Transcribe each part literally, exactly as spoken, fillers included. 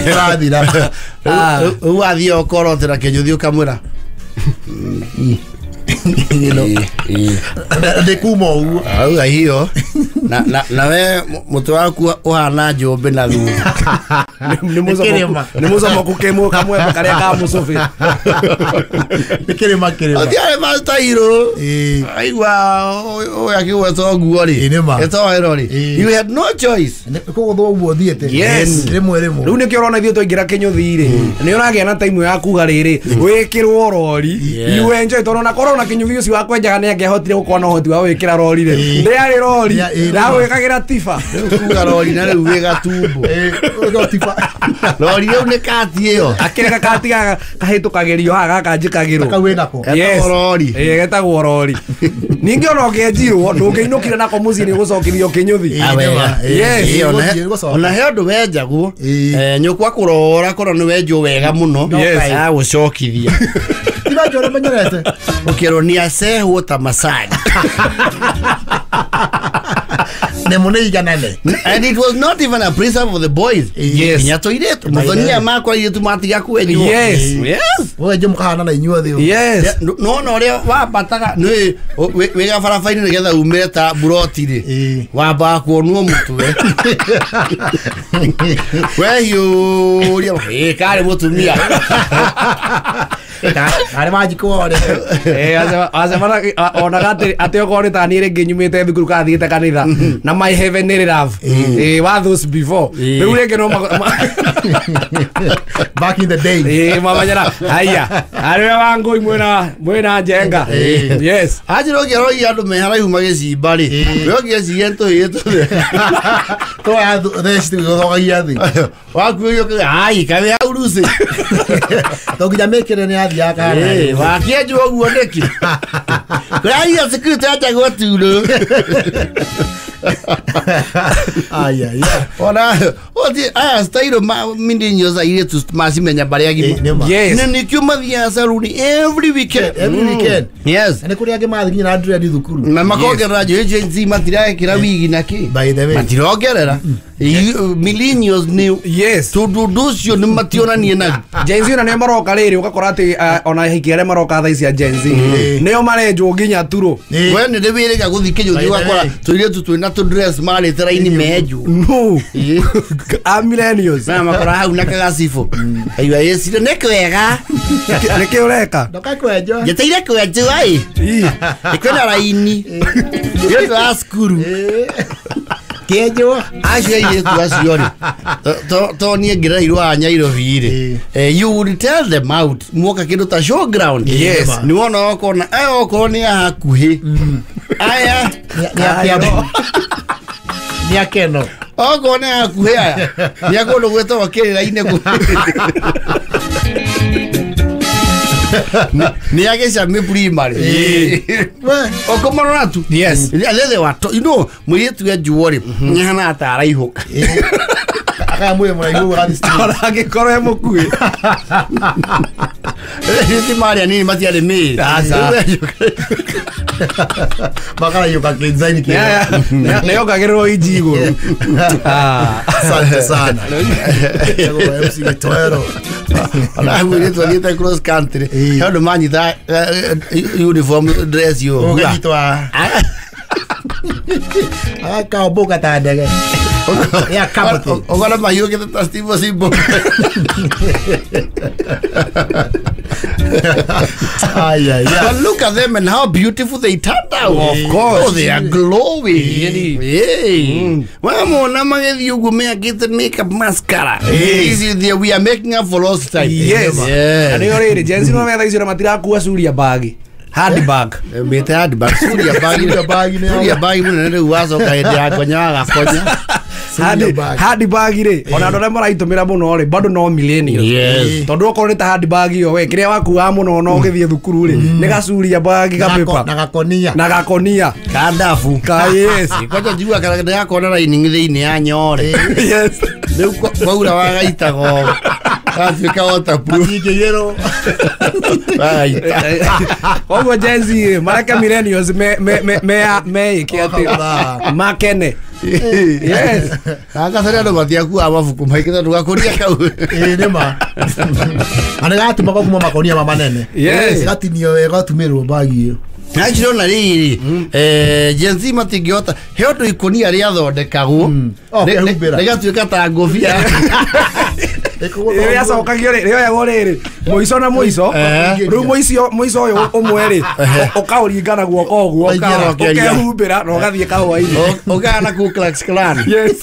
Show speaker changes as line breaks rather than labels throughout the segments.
Ũrathira.
Ah.
Rĩu wathiĩ ũkorotera kĩnyũthi ũkamwĩra
Ndĩ kuma ũguo.
Auga hiyo na na na we mũtwe waku ũhana njũmbĩ na thutha.
Nĩ mũcomoku nĩ mũcomoku kĩmũ kamwembe karĩa ka mũcũbĩ.
Nĩ kĩrĩma kĩrĩma.
Ũtiarĩ mastairũ.
Ĩĩ.
Aigua ũyũ akĩgweta ũguo rĩ.
Ĩ, nĩ ma.
Etoero rĩ.
Ĩ.
You had no choice.
Nĩ kũgũthwo ũguo ũthiĩte.
Yes.
Rĩmwe rĩmwe.
Rĩu nĩkĩo ũrona ithuĩ twaingĩra kĩnyũthi rĩ nĩ ũragĩa na time ya kuga rĩrĩ wĩkĩrwo rori you enjoy tondũ ona korwo na kĩnyũthi ũcio wa kwenjaga nĩ angĩahotire gũkorwo na ũhoti wa gwĩkĩra rori rĩ ndĩarĩ rori
Ya, ĩ, nĩ ma.
ndagwĩkagĩra tiba.
Rĩu kuga rori na rĩu wĩ gatumbo.
Ĩ, ũgĩkorwo tiba.
Rori rĩu nĩ kati ĩyo.
Akĩrĩ gakati kahĩtũkagĩrio haha gaka njĩkagĩrwo.
Kau wĩnako.
Yes.
Getagwo rori.
Ĩ, getagwo rori. Ningĩ ona ũngĩenjirwo ndũngĩinũkire nako mũciĩ nĩ ũgũcokithio kĩnyũthi.
Ĩ, nĩ ma. Ĩ,
Yes.
ĩ,
Ĩ, ona
gũthiĩ,
he-
gũcoka.
ona he ũndũ wenjagwo
Ĩ.
eh, nyũkwa kũrora korwo nĩ wenjwo wega mũno
Yes.
agũcokithia
Ti wenjwo ũrĩa menyerete.
ũkĩrwo nĩ acehwo ta macani.
Nĩmo nĩ iganane.
And it was not even a prison for the boys.
Yes.
Nginya tũirĩtu mũthoni makwa airĩtu matiga kwenjwo.
Yes.
Yes.
Wenjwo mũkahana na inyuothe ũguo.
Yes.
Nona ũrĩa wambataga nĩ wĩ gabaraba-inĩ nĩgetha umĩre ta buroti rĩ
Ĩ.
wambaga kuonwo mũtwe wehiũria ĩ karĩ mũtumia.
Arĩ manjikwo rĩ.
Eh, acemana onaga atĩ atĩ okorwo nĩ ta niĩ rĩngĩ nyumĩte thukuru kana thiĩte kanitha na my heavenly love eh wa those before rĩu rĩngĩ no ma- ma-
Back in the day.
eh mamanyera haya arĩ wa ngũi mwĩna mwĩna njenga. Yes.
Anjĩra ũngĩaroria andũ me haraihu magĩcimba rĩ we ũngĩeciria nĩ tũhĩĩ tũthĩ
Twoya theci tũgĩgũthogagia thĩ.
wakuĩrio kĩ ai kaĩ hau rucĩ.
To nginya mĩkĩre nĩ yathiaga kana.
Ĩ, wakĩenjwo ũguo nĩkĩ kũraria security yanjagwo turũ.
Ai, ai, ai.
Ona othi aya style ma millennials airĩtu macimenya barĩa
Ĩ,
agima.
nĩ ma.
Yes.
Nĩ nĩkĩo mathiaga saruni every weekend.
Every weekend.
Yes.
Na nĩ kũrĩ angĩ mathiĩ nginya na dread thukuru.
Na makongerera njũĩ Gen Z matirekĩra wigi na kĩ.
By the way.
Matirongerera. Millennials nĩ
Yes.
tondũ ũndũ ũcio nĩ mationanie naguo.
Gen Z ona nĩo maroka rĩrĩ ũgakora atĩ eh, ona ahiki arĩa maroka thaa ici a Gen Z nĩo marenjwo nginya turũ.
Ĩ.
We nĩ ndĩwĩrĩga gũthiĩ kĩnyũthi
By the
ũgakora
way.
tũirĩtu twĩna tũ dress marĩte raini menjwo.
No.
Ĩ.
A millennials.
Na makora hau na kagacibũ aigua ĩcire nĩ kwega.
Nĩkĩ ũreka?
Ndoka kwenjwo.
Njeteire kwenjwo ĩ
Ĩ.
ĩkwĩna raini nĩ ũndũ wa cukuru.
Kĩenjwo.
Acio airĩtu acio rĩ to- to niĩ ngĩreirwo a Nyairobi rĩ eh, you would tell them out muoka kĩndũ ta showground.
Yes.
Nĩ wona okona aya okorwo nĩ a hakuhĩ aya
Nĩ a Kĩambu. Nĩ a Keno.
Okorwo nĩ a hakuhĩ aya nĩ a kũndũ gwĩtagwo kĩrĩra-inĩ kũ nĩ a gĩcamĩ primary.
We.
Ũkũmarora tu.
Yes.
They were to- you know mũirĩtu enjwo rĩ nĩahanaga ta araihũka.
Akaya mwĩrĩ mũraihu ũgathiĩ straight.
Ona angĩkorwo e mũkuhĩ.
Ti marĩa nini matiarĩ mĩĩrĩ.
Aca.
Makaraiyũka kĩnzaini kĩega.
Nĩyongagĩrĩrwo inji igũrũ. Ah.
Asante sana. Etagwo M C Gĩtoero.
Ona mũirĩtu athiĩte cross country
Ĩ.
he ũndũ manyita eh, eh, uniform dress yo
Ũkanyitwo agakaombũka ta ndege. Ya kamũtĩ.
Ũkona mahiũkĩte ta Steve Simbo.
Ai, ai, ai.
But look at them and how beautiful they turned out.
Of course.
Oh, they are glowing.
Really.
Yeah. Wamona magĩthiĩ ũguo mekĩte makeup mascara.
Yes.
This is the, we are making up for lost time.
Yes.
Yeah.
Na nĩyo rĩrĩ Gen Z no metha icio na matirakua curia bagi. Handbag.
Mĩte handbag. Curia bagi.
Curia bagi nĩ
Curia bagi mũnene rĩu wacoka hĩndĩ ya konya wagakonya.
Handi-
bag.
Handbag rĩ ona andũ arĩa maraitũmĩra mũno rĩ bado no millennials.
Yes.
Tondũ okorwo nĩ ta handbag ĩyo we kĩrĩa wakuaga mũno no ũgĩthiĩ thukuru rĩ nĩ gacuria bagi
Na gako-
gapepa
na gakonia.
Na gakonia.
Kandabu.
Ka yes.
Kwanja njigua kana ndĩrakona lining thĩinĩ ya nyore.
Yes.
Rĩu kwa- kwaura wagaitaga ũũ. Gatuĩka waterproof.
Gatingĩiyĩrwo.
Wagaita.
Koguo Gen Z rĩ mareke millennials me me me me meĩke atĩ makene. Yes.
Akathere andũ matiakuaga mabuku maingĩ tondũ gakũnia kau.
Ĩĩ nĩ ma. Na nĩ gatumagwo kuma makonia ma manene.
Yes.
Gatinio wega gatumĩrwo bagi ĩyo.
Na njirona rĩrĩ eh Gen Z matingĩhota he ũndũ ikũnia rĩathondekagwo
Oh,
rĩgatuĩka ta ngũbia.
Rĩacokagio rĩ rĩoyagwo rĩrĩ mũico na mũico rĩu mũico mũico ũyũ ũmwe rĩ ũkaũringa na guoko ũguo ũkehumbĩra na ũgathiĩ kahũa-inĩ
ũkahana Ku Klux Klan.
Yes.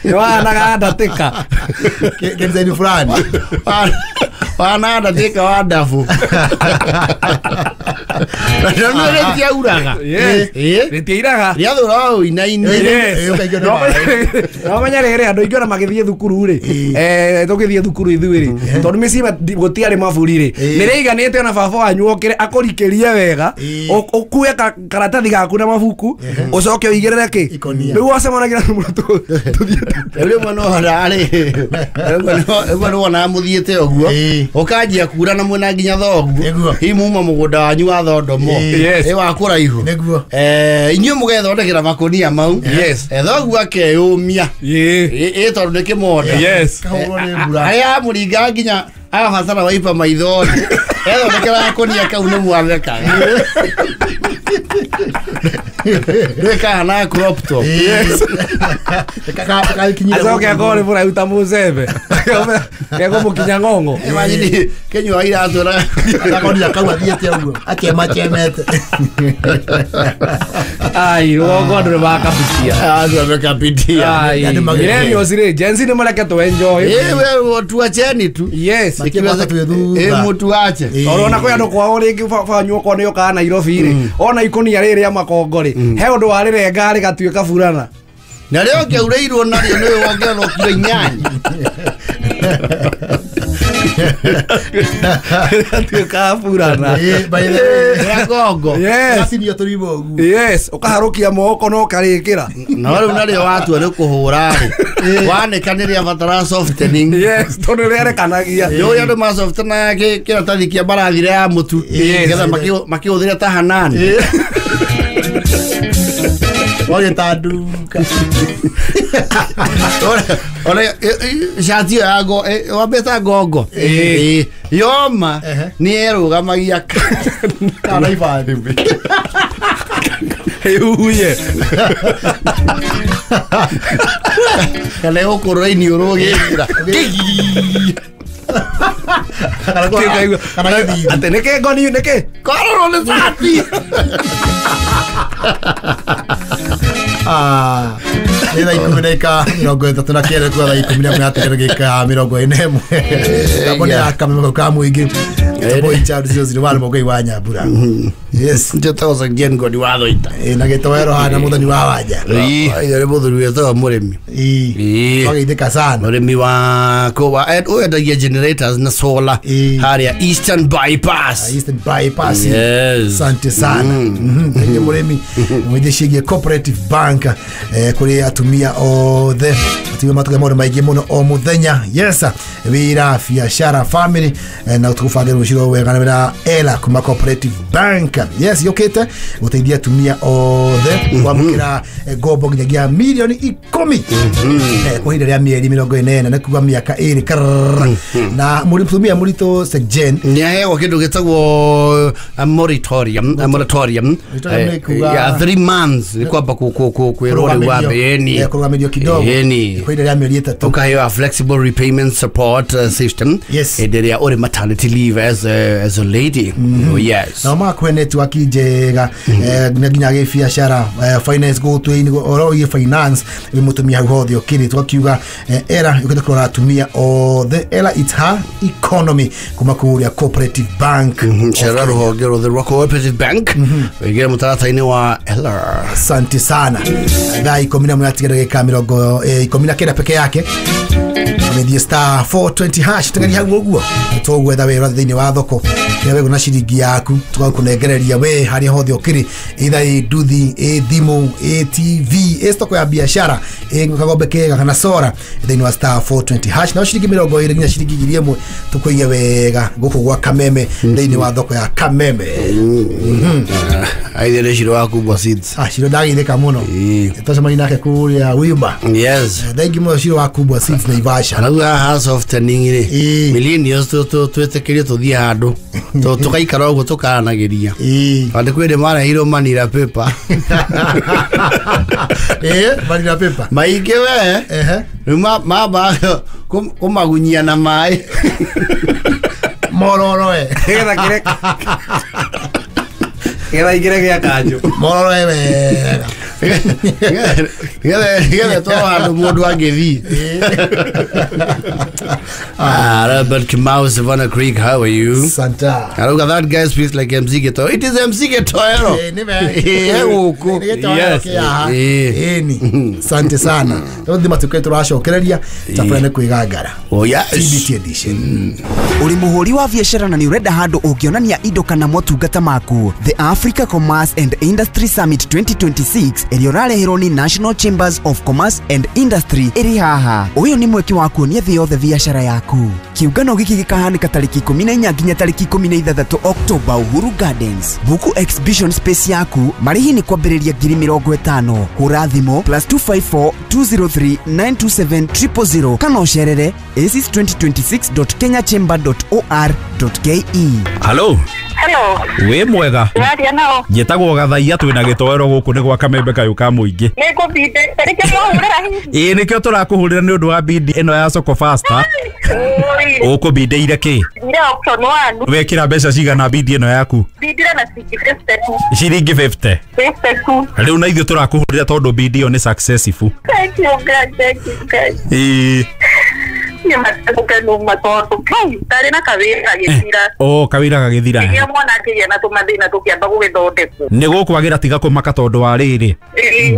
Nĩwahanaga ndatĩka
Kĩdesign fulani.
Wana ndatĩka wa ndabu. Na nĩ rĩtiauraga.
Rĩtiairaga.
Rĩathũra ũinaine.
No menya rĩrĩ andũ aingĩ ona magĩthiĩ thukuru rĩ eh tũgĩthiĩ thukuru ithuĩ rĩ tondũ mĩciĩ gũtiarĩ maburi rĩ nĩ rĩiganĩte ona baba wanyu okĩre akũrikĩrie wega ũkue karatathi gaku na mabuku ũcoke ũigĩrĩre kĩ rĩu wacemanagia na mũrutwo tũthiĩte
rĩmwe no rarĩ rĩmwe nĩ wonaga mũthiĩte ũguo ũkanjia kura na mwena nginya thoguo hihi muma mũgũnda wanyu wa thondomo ĩ wa kũraihu eh inyuĩ mũgethondekera makũnia mau thoguo akeyũmia ĩ tondũ nĩ kĩmonda harĩa amũringa nginya agabatara waipa maithori ethondekera gakũnia kau nĩ mwathekaga rĩkahana crop top.
Acoke akorwo nĩ mũraihu ta mũcembe kegũmũkinya ng'ong'o.
Imagine kĩnyua iratũ na
gakonia kau athiĩte ũguo akĩemachemete.
Ai rũgongo andũ nĩ makabitia.
Andũ mekabitia.
Millennials rĩ Gen Z nĩ mareke tũ enjoy.
Ĩ we tuacheni tu.
Yes.
Ĩ mũtuache.
Tondũ ona kwĩ andũ kwao rĩngĩ baba wanyu okorwo nĩ okaga Nairobi rĩ ona ikũnia rĩrĩ rĩa makongo rĩ he ũndũ warĩrenga rĩgatuĩka burana.
Na rĩo ngĩaurĩirwo narĩo nĩwe wongererwo kiro inyanya.
Rĩgatuĩka burana.
Rĩa ngongo.
Gatinio tũrimũ ũguo.
Yes, ũkaharũkia moko na ũkarĩkĩra.
No rĩu narĩo watua nĩ kũhũra rĩ wanĩka nĩ rĩabatara softening.
Yes, tondũ rĩerekanagia.
Nĩũĩ andũ masoftenaga kĩratathi kĩa mbarathi ya mũtu nĩgetha makĩhũthĩre ta hanani.
Wagĩtanduka.
Ona cati ĩyo ya wambĩta ngongo yoma nĩ erũgamagia
kana ibandĩ.
Ĩhuye.
Kana ĩgũkũrũra iniũrũ ũgĩkĩra.
Atĩ nĩkĩ ngoni nĩkĩ?
Kororwo nĩ cati.
Ah, nĩ thaa ikũmi na ika mĩrongo ĩtatũ na kenda kuga thaa ikũmi na ĩmwe hatigara ndagĩka mĩrongo ĩna ĩmwe. Mĩtambo nĩ ya kameme ka mũingĩ. Boy Child zero zero one Mũgoi wa Nyambura. Yes.
Njĩtagwo Jen Ngoni wa Thoita.
Ĩ na gĩtoero hana mũthoni wa Wanja.
Ĩ nĩ mũthuri wĩtagwo mũrĩmi.
Ĩ twageithĩka sana.
Mũrĩmi wa kũwa wendagia generators na solar harĩa Eastern Bypass.
Eastern Bypass.
Yes.
Asante sana. Nĩ mũrĩmi mwĩthĩ ciĩgiĩ Cooperative Bank kũrĩ atumia othe. Atumia matuga maũndũ maingĩ mũno o mũthenya. Yes. Wĩra, biacara, family na tũgũbangĩra rũciũ wega na ela kuma Cooperative Bank. Yes, yũkĩte gũteithia atumia othe kwamũkĩra ngombo nginyagia mirioni ikũmi kwa ihinda rĩa mĩeri mĩrongo ĩnana nĩ kuga mĩaka ĩrĩ karrrr. Na mũtumia mũritũ Jen
nĩ aheagwo kĩndũ gĩtagwo moratorium moratorium ya three months nĩ kwamba kwĩrwo rĩu wambe ĩni
kũrũgamĩrio kidogo kwa ihinda rĩa mĩeri ĩtatũ
ũkaheo a flexible repayment support system hĩndĩ ĩrĩa ũrĩ maternity leave as a, as a lady. Mm -hmm. Oh, yes.
Na makwe network njega na nginya gĩbiacara finance gũtũ oro ĩ finance mũtumia hau hothe ũkĩrĩ twakiuga era yũkĩte kũrora atumia othe era it's her economy kuma kũrĩa Cooperative Bank.
Cera rũhonge rũthe rwa Cooperative Bank wĩingĩre mũtaratara-inĩ wa L R.
Asante sana. Thaa ikũmi na ĩmwe yatigara ndagĩka mĩrongo ikũmi na kenda peke yake. Media star four twenty hash tengeri hau ũguo tũgwetha wĩra thĩinĩ wa thoko kĩrĩa wĩgũ na ciringi yaku tũgakũnengereria. Tũkũikia we harĩa hothe ũkĩrĩ, either ĩ nduthi, ĩ thimũ, ĩ T V, ĩ stoko ya biashara, ĩ kagombe kega kana sora thĩinĩ wa star four twenty hash na ciringi mĩrongo ĩrĩ nginya ciringi ngiri ĩmwe tũkũiye wega gũkũ gwa Kameme thĩinĩ wa thoko ya Kameme.
Aithe nĩ Shiro wa Kubwa Seeds.
Ah, Shiro ndagithĩka mũno. Twacemania nake kũrĩa Wima.
Yes.
Thank you mũno Shiro wa Kubwa Seeds Naivasha.
Rĩu haha softening rĩ, millennials twĩtĩkĩrie tũthiĩ handũ tũgaikara ũguo tũkaranagĩria. Tondũ kwĩ hĩndĩ mareheirwo manila paper.
Eh, manila paper.
Maingĩ we. Rĩu mamba kũmagunyia na maĩ.
Mororo e.
Nĩgetha kĩrĩ nĩgetha ingĩre gĩa kanjũ.
Mororo e wega.
Nĩgetha to handũ mũndũ angĩthiĩ. Ah, Robert Kamau, Savannah Creek, how are you?
Santa.
Arauga that guy speaks like M C Getoero. It is M C Getoero.
Eh, nime.
Eh, huko.
Yes. Eh, ni. Sante sana. Tondũ matuke tũracokereria tabana kwigangara.
Oh yes.
T B T edition.
Uri muhuri wa biashara na ni urenda handu ũngĩonania indo kana motungata maku. The Africa Commerce and Industry Summit twenty twenty-six ĩrĩa ũrareherwo ni National Chambers of Commerce and Industry ĩrĩ haha. Ũyũ nĩ mweke wa kuonia thĩ yothe biashara yaku. Kiũngano gĩkĩ gĩkahanĩka tarĩki ikũmi na inya nginya tarĩki ikũmi na ithathatũ October Uhuru Gardens. Buku exhibition space yaku marĩhi nĩ kwambĩrĩria ngiri mĩrongo ĩtano. Hũra thimũ plus two five four two zero three nine two seven triple zero kana ũcerere aces twenty twenty-six dot kenya chamber dot org dot ke.
Hello.
Hello.
Wĩ mwega.
Waria nao.
Njĩtagwo Gathaia twĩna gĩtoero gũkũ nĩ gwa Kamembe kayũ ka mũingĩ.
Nĩngũbinde. Nĩkĩo mwahũrĩra hihi?
Ĩĩ nĩkĩo tũrakũhũrĩra nĩ ũndũ wa bindi ĩno ya Soko Faster. Ũkũbindĩire kĩ?
Ndire option one.
Wekĩra mbeca cigana bindi ĩno yaku?
Bindire na ciringi fifty two.
Ciringi fifty.
fifty two.
Rĩu na ithuĩ tũrakũhũrĩra tondũ bindi ĩyo nĩ successful.
Thank you God, thank you God.
Ĩĩ.
Ndarĩ na kawĩra gagĩthira.
Oh, kawĩra gagĩthira.
Nginya mwana akĩgĩa na tũmathĩna tũkĩamba gũgĩthondekwo.
Nĩ gũkwagĩra tiga kũmaka tondũ wa rĩrĩ.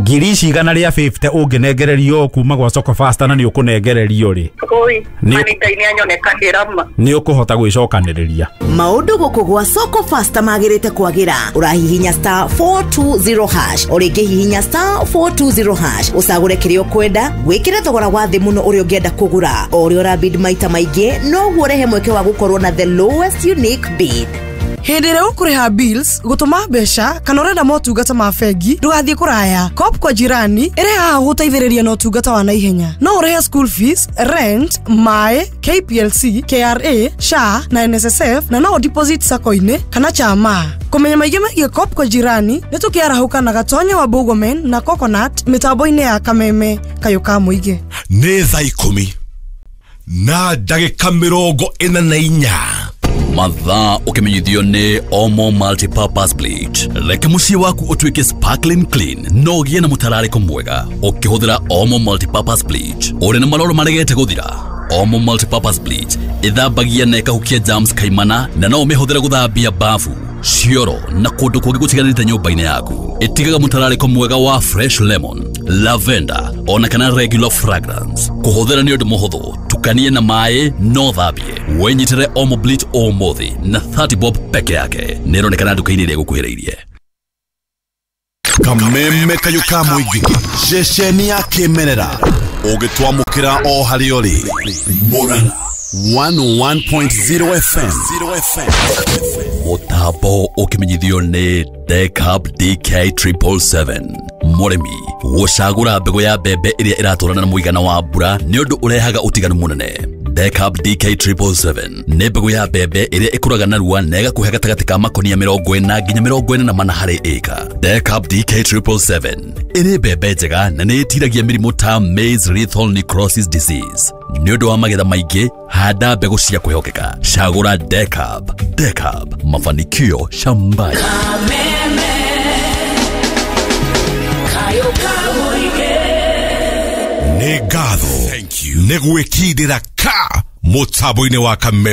Ngiri ici igana rĩa fifty ũngĩnengererio kuma gwa Soko Faster na nĩ ũkũnengererio rĩ.
Oi, mani Ngai nĩ anyonekagĩra ma.
Nĩ ũkũhota gwĩcokanĩrĩria.
Maũndũ gũkũ gwa Soko Faster magĩrĩte kwagĩra. Ũrahihinya star four two zero hash. O rĩngĩ hihinya star four two zero hash. Ũcagũre kĩrĩa ũkwenda, wĩkĩre thogora wa thĩ mũno ũrĩa ũngĩenda kũgũra. O ũrĩa ũrabid maita maingĩ noguo ũrehe mweke wa gũkorwo na the lowest unique bid.
Hĩndĩ ĩrĩa ũkũrĩha bills, gũtũma mbeca kana ũrenda motungata ma bengi, ndũgathiĩ kũraya. Coop kwa jirani ĩrĩ haha gũgũteithĩrĩria na ũtungata wa naihenya. No ũrĩhe school fees, rent, maĩ, K P L C, K R A, S H A na N S S F na no deposit sacco-inĩ kana chama. Kũmenya maingĩ megiĩ Coop kwa jirani nĩ tũkĩarahũka na Gatonya wa Bũgomen na Coconut mĩtambo-inĩ ya Kameme kayũ ka mũingĩ.
Nĩ thaa ikũmi na ndagĩka mĩrongo ĩna na inya.
Mathaa ũkĩmenyithio nĩ Omo Multipurpose Bleach. Reke mũciĩ waku ũtuĩke sparkling clean no ũgĩe na mũtararĩko mwega ũkĩhũthĩra Omo Multipurpose Bleach. Ũrĩ na maroro maregete gũthira? Omo Multipurpose Bleach ĩthambagia na ĩkahukia germs kaimana na no ũmĩhũthĩre gũthambia bafu, cioro na kũndũ kũngĩ gũtiganĩte nyũmba-inĩ yaku. Ĩtigaga mũtararĩko mwega wa fresh lemon, lavender ona kana regular fragrance. Kũhũthĩra nĩ ũndũ mũhũthũ, tukanie na maĩ no thambie. Wĩnyitĩre Omo Bleach ũmũthĩ na thirty bob peke yake. Nĩĩronekana nduka-inĩ ĩrĩa ĩgũkuhĩrĩirie.
Kameme kayũ ka mũingĩ, ceceni ya kĩmerera ũgĩtwamũkĩra o harĩa ũrĩ. Murang'a one oh one point zero F M.
Mũtambo ũkĩmenyithio nĩ Decab D K triple seven. Mũrĩmi gũcagũra mbegũ ya mbembe ĩrĩa ĩratwarana na mũigana wa mbura nĩ ũndũ ũrehaga ũtiganu mũnene. Decab D K triple seven nĩ mbegũ ya mbembe ĩrĩa ĩkũraga narua na ĩgakũhe gatagatĩ ka makonia mĩrongo ĩna nginya mĩrongo ĩna na mana harĩ ĩka. Decab D K triple seven ĩrĩ mbembe njega na nĩ ĩtiragia mĩrimũ ta maize lethal necrosis disease. Nĩ ũndũ wa magetha maingĩ, handa mbegũ cia kwĩhokeka. Cagũra Decab. Decab, mafanikio shambani.
Nĩ ngatho nĩ gwĩkindĩra ka mũtambo-inĩ wa Kameme.